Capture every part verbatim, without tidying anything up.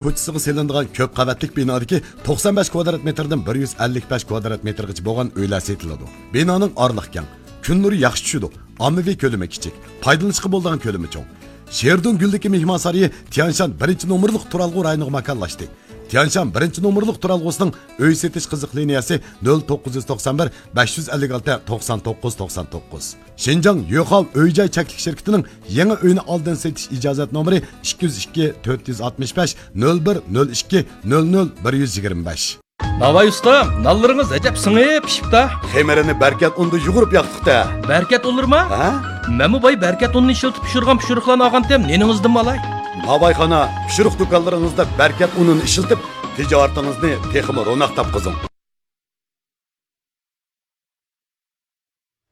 كوچىسىغا سېلىنىدىغان كۆپ قەۋەتلىك بىنادىكى توقسان بەش كۋادرات مېتىردىن بىر يۈز ئەللىك بەش كۋادرات مېتىرغىچە بولغان ئۆيلەر سېتىلىدۇ. بىنانىڭ ئارىلىقى كەڭ، كۈن نۇرى ياخشى چۈشىدۇ، ئاممىۋى كۆلىمى كىچىك، پايدىلىنىشقا بولىدىغان كۆلىمى چوڭ. شېرىدۇن گۈلدىكى مېھمانسارىيى تيەنشان بىرىنچى نومۇرلۇق تۇرالغۇ رايونىغا ماكانلاشتى. تيەنشان بىرىنچى نومۇرلۇق تۇرالغۇسىنىڭ ئۆي سېتىش قىزىق لىنىيەسى نۆل توققۇز يۈز توقسان بىر، بەش يۈز ئەللىك ئالتە، توقسان توققۇز، توقسان توققۇز. شىنجاڭ يۆخاۋ ئۆي جاي چەكلىك شىركىتىنىڭ يېڭى ئۆينى ئالدىن سېتىش ئىجازەت نومۇرى ئىككى يۈز ئىككى، تۆت يۈز ئاتمىش بەش، نۆل بىر، نۆل ئىككى، نۆل نۆل، بىر يۈز يىگىرمە بەش. ناۋاي ئۇستام، نانلىرىڭىز ئەجەب سىڭىپ پىشىپتا. خېمىرىنى بەركەت ئۇندا يۇغۇرۇپ ياقتۇقتا. بەركەت ئۇنلىرىما؟ ھە؟ مەنمۇ باي بەركەت ئۇنىنى ئىشلىتىپ پىشۇرغان پىشۇرۇقلارنى ئالغانتىم، نېنىڭىزدىنمۇ ئالاي؟ ناۋايخانا، پىشۇرۇق دۇكانلىرىڭىزدا بەركەت ئۇنىنى ئىشلىتىپ، تىجارىتىڭىزنى تېخىمۇ روناق تاپقۇزۇڭ.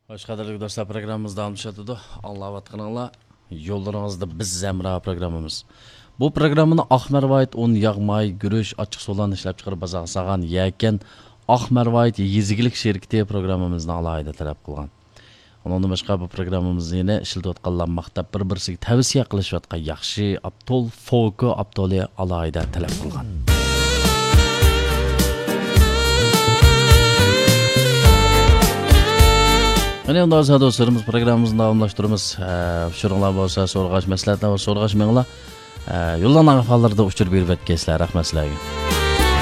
خوش، قەدىرلىك دوستلار، پروگراممىمىز داۋاملىشىۋاتىدۇ. ئاڭلاۋاتقىنىڭلار يوللىرىڭىزدا بىز ھەمراھ پروگراممىمىز. بۇ پروگراممىنى ئاق مەرۋايىت ئۇن، ياغ، ماي، گۈرۈچ، ئاچچىق سۇلارنى ئىشلەپچىقىرىپ بازارغا سالغان يەكەن ئاق مەرۋايىت يېزا ئىگىلىك شىركىتى پروگراممىمىزنى ئالاھىدە تەلەپ قىلغان. ئۇنىڭدىن باشقا بۇ پروگراممىمىزنى يەنە ئىشلىتىۋاتقانلار ماختاپ بىر-بىرسىگە تەۋسىيە قىلىشىۋاتقان ياخشى ئاپتول فوكو ئاپتولى ئالاھىدە تەلەپ قىلغان. مانا ئۇنداق بولسا دوستلىرىمىز، پروگراممىمىزنى داۋاملاشتۇرىمىز. ئە، ئۇچۇرۇڭلار بولسا سورىغاچ، مەسلىھەتلەر بولسا سورىغاچ مېڭىڭلار. ئە، يوللارنىڭ ئەھۋاللىرىدا ئۇچۇر بېرىۋەتكەيسىلەر، رەھمەت سىلەرگە.